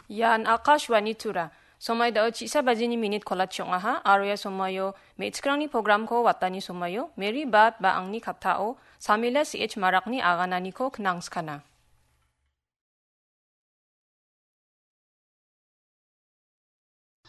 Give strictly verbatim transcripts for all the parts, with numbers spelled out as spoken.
Ian Akashvani Tura. Somai dao chisa bajini minit kolachi ong·aha, aro ia somaio me·chikrangni programko watani somaio Mary Bad ba angni kattao Samila C H Marakni agananiko knangskana.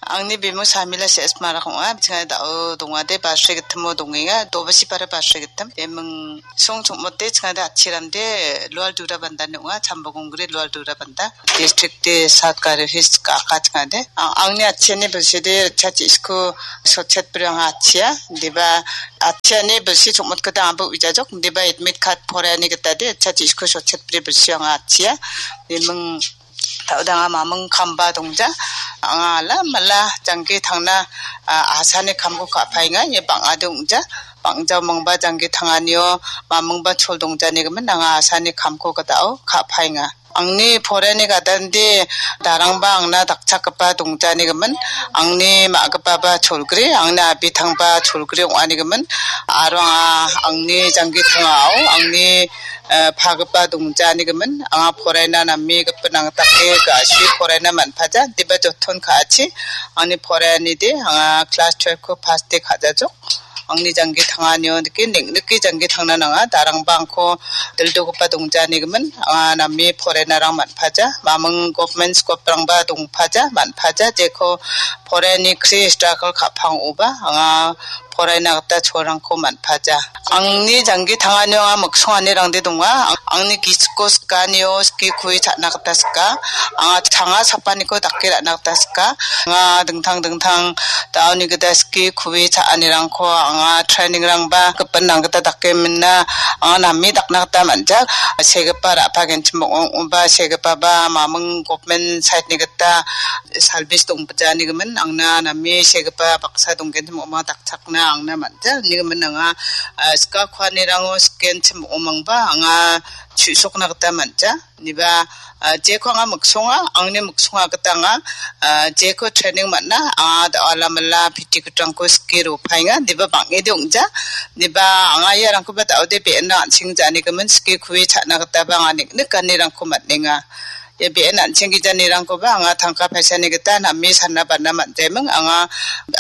Angni bimung Samila C S Marak ong·a. Chingade dao dongade basri gitimo dongenga. Dobasi para basri gitim. Bimung song chongmote chingade achiramde Lual Dura Bandani ong·a. Chambagongri Lual Dura Banda. District de South Garo Hills ka aka chingade. A-, angni achiani bilside chachi isko sochet priang achia. Diba achiani bilsi chongmot kata ambo wijajok. Diba admit card porani gitade chachi isko sochet pri bilsi ong·a achia. Bimung Taudanga mamung kamba dongja. Anga ala mala jangki tangna, a, asani kamko ka·paenga, ia bang·a dongja. Bang·ja mangba jangki tanganio mamungba chol dongjani gimin anga asani kamko gitao ka·paenga. Angni porani gadande darangba angna dakchakgipa dongjani gimin, angni ma·gipaba cholgri, angni abitangba cholgri ong·ani gimin, aro anga angni jangki tangao, angni eh, pagipa dongjani gimin, anga poraina name gipin angtake ga·asi poraina man·paja, diba joton ka·achi, angni poraianide, anga class twelve-ko pass de ka·jajok. Angni jangki tanganio dike, neng·nike jangki tangna nanga, darangba angko dildogipa dongjani gimin, anga name porainarang man·paja, mamung government school-rangba dongpaja, man·paja, jeko poraiani kri struggle ka·pang ong·oba, anga poraina gita cholrangko man·paja. Angni jangki tanganio anga miksonganirangde donga. Ang-, angni gisiko sikanio siki kue cha·na gita sika. Anga changa sapaniko dake ra·na gita sika. Anga dingtang dingtang daoni gita siki kue cha·anirangko anga training-rangba gipin nang gita dake mina. Anga name dakna gita man·ja. Segipa ra·pa genchim ong·ong·oba segipaba mamung government side-ni gita salbis dongbajani gimin angna name segipa baksa donggenchim ong·ong dak- chakna angna man·ja. Nigimin anga, ah, sika kuanirango sikenchim ong·mangba anga chu·sokna gita man·ja. Niba, ah, jeko anga miksonga, angni miksonga gita anga, ah, jeko training man·a, anga da-, alamala piti kutrangko sike ropaenga. Niba bang·ede ong·ja. Niba anga iarangkoba da·ode be·ena an·seng janigimin sike kue cha·na gitaba anga nik·nik ganirangko man·enga. Ia be·en an·cheng gijanirangkoba anga tangka paisani gita name sana bana man·jaiming, anga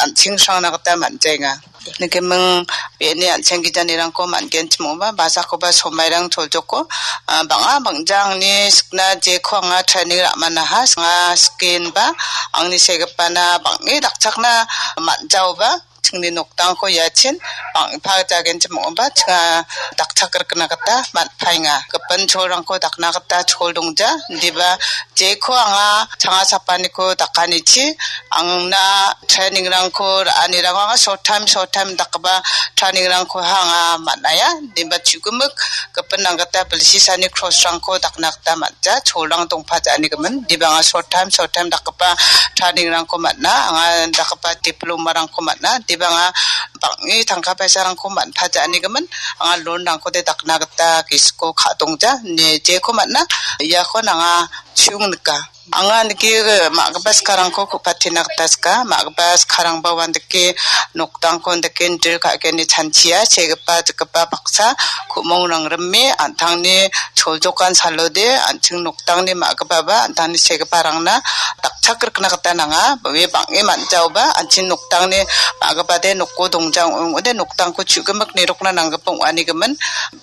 an·chengsrangna gita man·jaenga. Nikiming be·eni an·cheng gijanirangko man·genchim ong·ba, basakoba somairang choljoko, ah, bang·a bang·ja angni sikna jeko anga training ra·manaha, anga sikenba angni segipana bang·e dakchakna man·jaoba, chingni noktangko iachin bang·pajagenchim ong·oba chinga dakchakrikna gita man·paenga. Gipin cholrangko dakna gita chol dongja, indiba jeko anga changa sapaniko dakanichi, angna training-rangko ra·anirango anga short time, short time dakgipa training-rangko anga man·aia, indiba chu·gimik gipin nanggita bilsisani cross-rangko dakna gita man-, ja, cholrang dongpajanigimin, dibanga short time, short time dakgipa training-rangko man·a, anga dakgipa diploma-rangko man·a, dibanga bang·e tangka paisarangko man·pajanigimin, anga loan-rangkode dakna gita gisiko ka·dongja, ine jeko man·a, iako nanga chu·ong nika. Anga nike ma·gipa sikarangko ku·patina gita sika, ma·gipa sikarangba uandake noktangko andake indril ka·gni chanchia, segipa, jikgipa baksa ku·mongrang rime, an·tangni choljokan salode, an·ching noktangni ma·gipaba, an·tangni segiparangna dakchakrikna gita nanga. Ue bang·e man·jaoba, an·ching noktangni ma·gipade noko dongjang ong·ode, noktangko chu·gimik nirokna nanggipa ong·anigimin.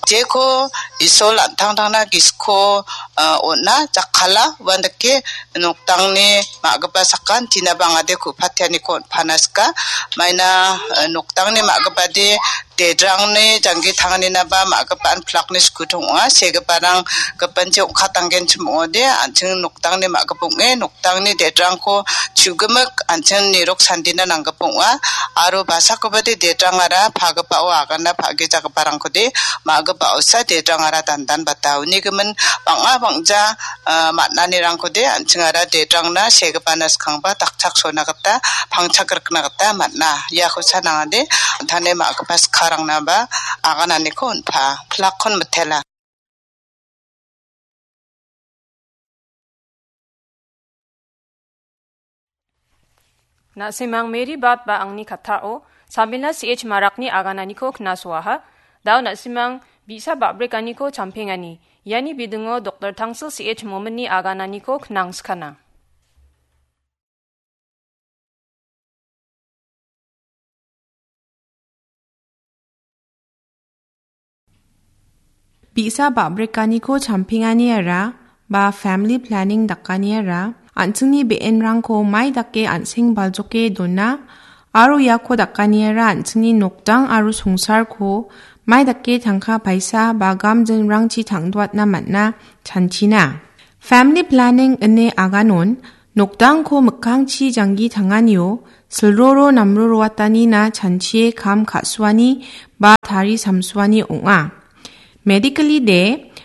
Jeko Isol an·tangtangna gisiko, ah, on·a, jakkala, uandake noktangni ma·gipa sakan, tinaba angade ku·patianiko on·pana sika. Maina, eh, noktangni ma·gipade dedrangni janggi tanganinaba ma·gipa an·plakni skudong ong·a. Segiparang gipinchi ong·katanggenchim ong·ode, an·ching noktangni ma·gipa ong·e, noktangni dedrangko chu·gimik an·ching nirok sandina nanggipa ong·a. Aro basakobade dedrangara pagipao agana pa·gijagiparangkode ma·gipa osa dedrangara dandanbata. Unigimin bang·a bang·ja, ah, man·anirangkode an·chingara dedrangna segipana skangba dakchak sona gita pangchak rikna gita man·a. Iako sanangade an·tangni ma·gipa sikarangnaba agananiko on·pa. Plakkon mitela. Na·simang Mary Bad ba angni kattao Samila C H Marakni agananiko knasoaha. Dao na·simang bi·sa ba·brikaniko champengani. Iani bidingo Doktor Tangsil C H Mominni agananiko knangskana. Bi·sa ba·brekaniko champengani ara ba family planning dakani ara an·chingni be·enrangko mai dake an·seng baljoke dona aro iako dakani ara an·chingni nokdang aro songsarko mai dake tangka paisa ba gamjinrangchi tangdoatna man·a chanchina. Family planning ine aganon nokdangko mikkangchi janggi tanganio silroro namroroatanina chanchie kam ka·suani ba tari samsuani ong·a. Medically de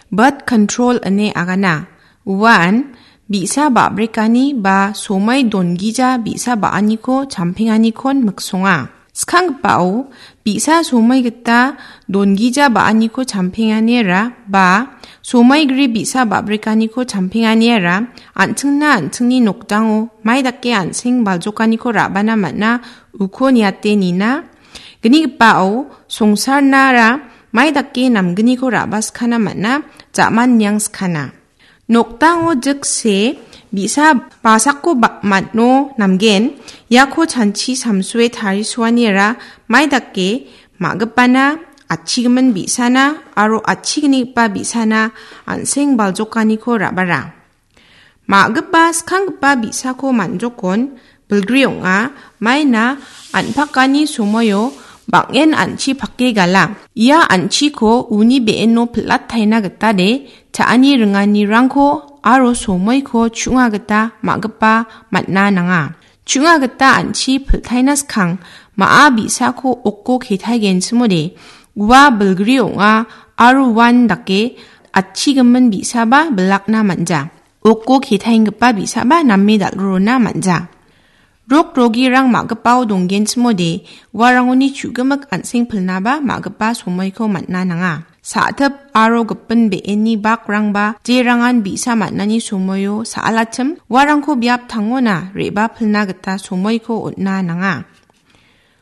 birth control ine agana. Uan bi·sa ba·brekani ba somai dongija bi·sa ba·aniko champenganikon miksonga. Skanggipao bi·sa somai gita dongija ba·aniko champenganiara ba somai gri bi·sa ba·brekaniko champenganiara an·chingna an·chingni nokdango mai dake an·seng baljokaniko ra·bana man·a uko niate nina. Gnigipao songsarnara mai dake namgniko ra·baskana man·a, ja·man niang skana. Nokdango jikse bi·sa basako ba-, man·o namgen, iako chanchi samsue tarisuaniara mai dake ma·gipana, atchigimin bi·sana aro atchignigipa bi·sana an·seng baljokaniko ra·bara. Ma·gipa skanggipa bi·sako man·jokon bilgri ong·a, maina an·pakani somoio bang·en an·chi pake gala. Ia an·chiko uni be·eno pil·ataina gita de, cha·ani ringanirangko aro somoiko chu·nga gita ma·gipa man·a nanga. Chu·nga gita an·chi pil·taina skang ma·a bi·sako oko ketaigenchimode, ua bilgri ong·a aro uan dake atchigimin bi·saba bilakna man·ja. Oko ketaenggipa bi·saba name dal·rona man·ja. Rok rogirang ma·gipao donggenchimode, uarangoni chu·gimik an·seng pilnaba ma·gipa somoiko man·a nanga. Sa·tip aro gipin be·eni bakrangba jerangan bi·sa man·ani somoio sa·alachim, uarangko biap tangona re·bapilna gita somoiko on·a nanga.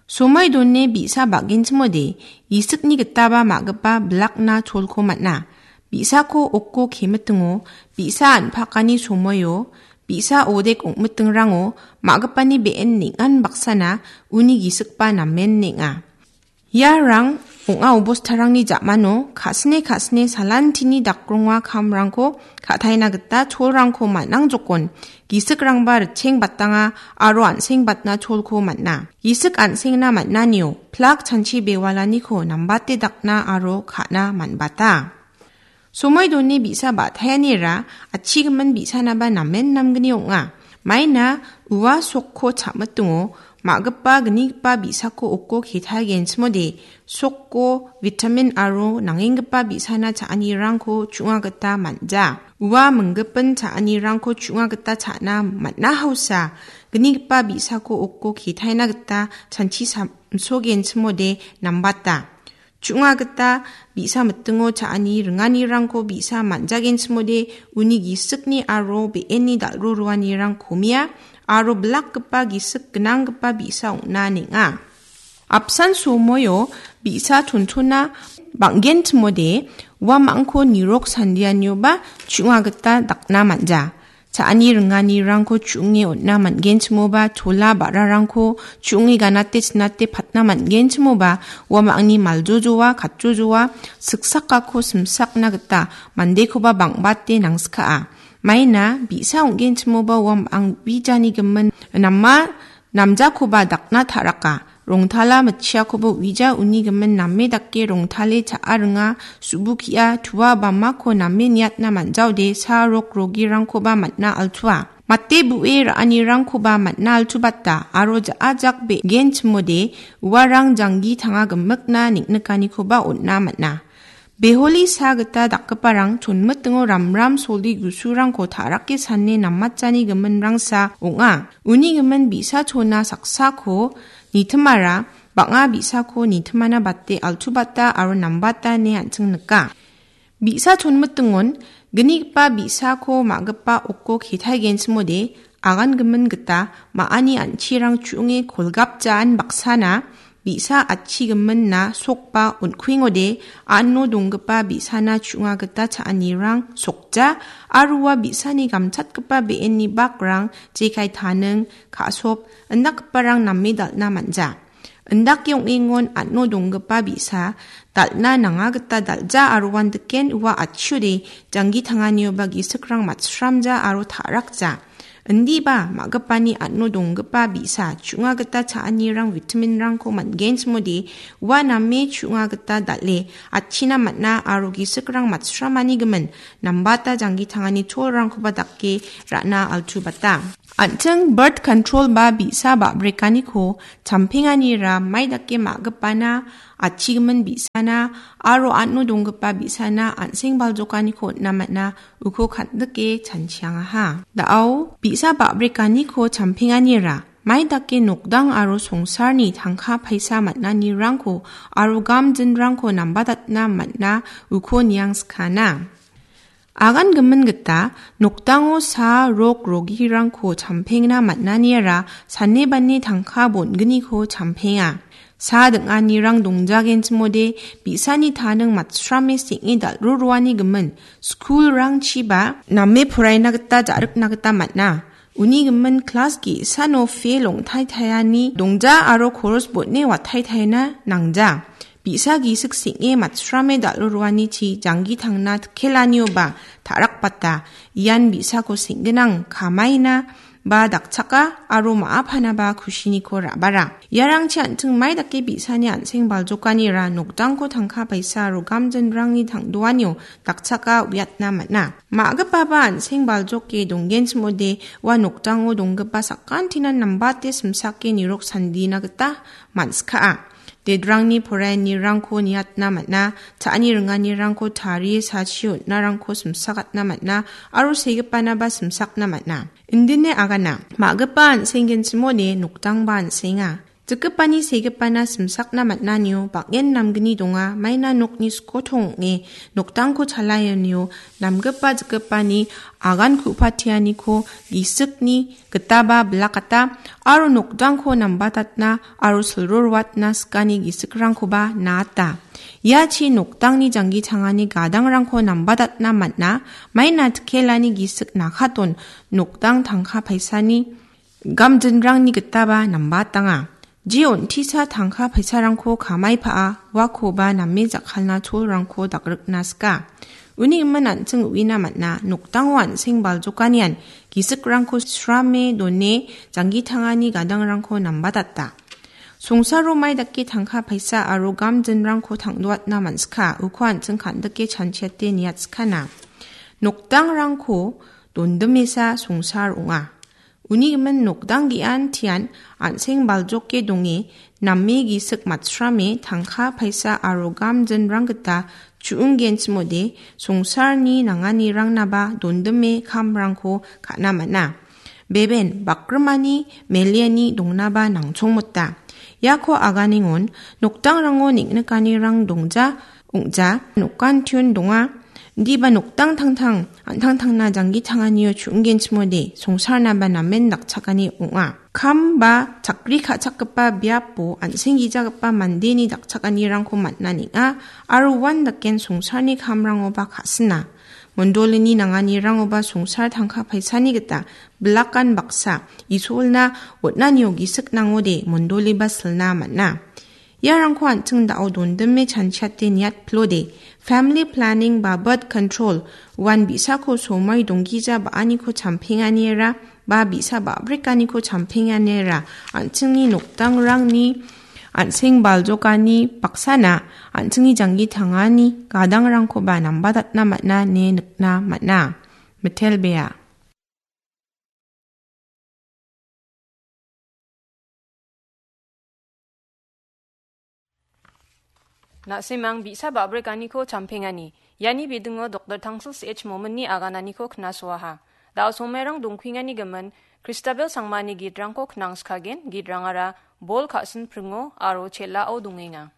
Somoi done bi·sa ba·genchimode, gisikni gitaba ma·gipa bilakna cholko man·a. Bi·sako oko kemitingo, bi·sa an·pakani somoio, bi·sa odek ong·mitingrango ma·gipani be·en neng·an baksana uni gisikba namen neng·a. Iarang ong·a obostarangni ja·mano ka·sine ka·sine salantini dakronga kamrangko ka·taina gita cholrangko man·ang jokon, gisikrangba ritcheng batanga aro an·seng batna cholko man·a. Gisik an·sengna man·anio plak chanchi bewalaniko nambate dakna aro ka·na man·bata. Somoi done bi·sa ba·taianira atchigimin bi·sanaba namen namgni ong·a. Maina ua sokko cha·mitingo ma·gipa gnigipa bi·sako oko ketaigenchimode sokko vitamin aro nangenggipa bi·sana cha·anirangko chu·nga gita man·ja. Ua minggipin cha·anirangko chu·nga gita cha·na man·a hausa gnigipa bi·sako oko ketaina gita chanchi samsogenchimode nambata. Chu·nga gita bi·sa mitingo cha·ani ringanirangko bi·sa man·jagenchimode uni gisikni aro be·eni dal·ro roanirang komia aro bilakgipa gisik gnanggipa bi·sa ong·na neng·a. Apsan somoio bi·sa chonchona bang·genchimode uamangko nirok sandianioba chu·nga gita dakna man·ja. Cha·ani ringanirangko chu·onge on·na man·genchimoba, chola ba·rarangko chu·onge ganate chinate patna man·genchimoba, uamangni maljojoa, katjojoa, siksakako simsakna gita mandekoba bang·bate nangsikaa. Maina bi·sa ong·genchimoba uamang bijani gimin nama namjakoba dakna ta·raka. Rongtala mitchiakoba uija uni gimin name dake rongtale cha·a ringa, subukia tua bamako name niatna man·jaode sa rok rogirangkoba man·a altua. Mate bu·e ra·anirangkoba man·a altubata aro ja·a jak be·genchimode uarang janggi tanga gimikna neng·nikanikoba on·a man·a. Beholi sa gita dakgiparang chonmitingo ramram soli gusurangko ta·rake sane namatjani giminrangsa ong·a. Uni gimin bi·sa chona saksako nitimara bang·a bi·sako nitimana bate altu bata aro nambata ine an·ching nika. Bi·sa chonmitingon gnigipa bi·sako ma·gipa oko ketaigenchimode agangimin gita ma·ani an·chirang chu·onge kolgapjaan baksana bi·sa atchigiminna sokba on·kuengode, ano donggipa bi·sana chu·nga gita cha·anirang sokja, aro ua bi·sani gamchatgipa be·enni bakrang jekai taning, ka·sop, indakgiparang name dal·na man·ja. Indake ong·engon an·o donggipa bi·sa dal·na nanga gita dal·ja aro uandiken ua atchiode janggi tanganioba gisikrang matsramja aro ta·rakja. Indiba ma·gipani an·o donggipa bi·sa chu·nga gita cha·anirang vitaminrangko man·genchimode ua name chu·nga gita dal·e atchina man·a aro gisikrang matsramani gimin nambata janggi tangani cholrangkoba dake ra·na altubata. An·ching birth control ba bi·sa ba·brekaniko champenganira mai dake ma·gipana, atchigimin bi·sana aro an·o donggipa bi·sana an·seng baljokaniko on·na man·a uko kan·dike chanchiangaha. Da·o bi·sa ba·brekaniko champenganira mai dake nokdang aro songsarni tangka paisa man·anirangko aro gamjinrangko nambatatna man·a uko niangskana. Agan gimin gita nokdango sa rok rogirangko champengna man·aniara sane bane tangka bon·gniko champenga. Sa ding·anirang dongjagenchimode bi·sani taning matsrame seng·e dal·ro roani gimin skulrangchiba name poraina gita ja·rikna gita man·a. Uni gimin klas ge·sano fel ong·taitaiani dongja aro koros bon·e wataitaina nangja. Bi·sa gisik seng·e matsrame dal·o roanichi janggi tangna tikelanioba ta·rakbata. Ian bi·sako seng·ginang kamaina ba dakchaka aro ma·a panaba kusiniko ra·bara. Iarangchi an·ching mai dake bi·sani an·seng baljokanira nokdangko tangka paisa aro gamjinrangni tangdoanio dakchaka uiatna man·a. Ma·gipaba an·seng baljoke donggenchimode ua nokdango donggipa sakantinan nambate simsake nirok sandina gita man·skaa. Dedrangni poraianirangko niatna man·a, cha·ani ringanirangko tarie sachi on·narangko simsakatna man·a aro segipanaba simsakna man·a. Indine agana, ma·gipa an·senggenchimode nokdangba an·senga. Jikgipani segipana simsakna man·anio bang·en namgni donga, maina nokni skotong ong·e nokdangko chalaianio namgipa jikgipani agan ku·patianiko gisikni gitaba bilakata aro nokdangko nambatatna aro silrorwatna sikani gisikrangkoba naata. Iachi nokdangni janggi tangani gadangrangko nambatatna man·a, maina tikelani gisik nakaton nokdang tangka paisani gamjinrangni gitaba nambatanga. Je on·tisa tangka paisarangko kamai pa·a, uakoba name jakkalna cholrangko dagrikna sika. Uni gimin an·ching uina man·a, nokdango an·seng baljokanian gisikrangko srame done janggi tangani gadangrangko nambatata. Songsaro mai dake tangka paisa aro gamjinrangko tangdoatna man·sika, uko an·ching kan·dike chanchiate niatskana. Nokdangrangko dondimesa songsar ong·a. Uni gimin nokdang ge·an tian an·seng baljoke donge name gisik matsrame tangka paisa aro gamjinrang gita chu·unggenchimode songsarni nanganirangnaba dondime kamrangko ka·na man·a. Beben bakrimani meliani dongnaba nangchongmota. Iako aganengon nokdangrango neng·nikanirang dongja ong·ja, nokantion donga. Indiba nokdang tangtang, an·tangtangna janggi tanganio chu·unggenchimode, songsarnaba namen dakchakani ong·a. Kam ba chakri ka·chakgipa biapo an·seng gijagipa mandeni dakchakanirangko man·a neng·a, aro uan daken songsarni kamrangoba ka·sina. Mondolini nanganirangoba songsar tangka paisani gita bilakan baksa, isolna on·anio gisik nangode mondoliba silna man·a. Iarangko an·ching da·o dondime chanchiate niatplode, family planning ba birth control, uan bi·sako somoi donggija ba·aniko champenganiera, ba bi·sa ba·brikaniko champenganiera, an·chingni nokdangrangni, an·seng baljokani baksana, an·chingni janggi tangani gadangrangkoba nambatatna man·a ine nikna man·a. Mitelbea. Na·simang bi·sa ba·brikaniko champengani. Iani bidingo Doktor Tangsil C H Mominni agananiko knasoaha. Da·o somairang dongkuengani gimin, Kristabel sangmani gitrangko knangskagen, gitrangara Bol ka·sin pringo aro chel·ao dongenga.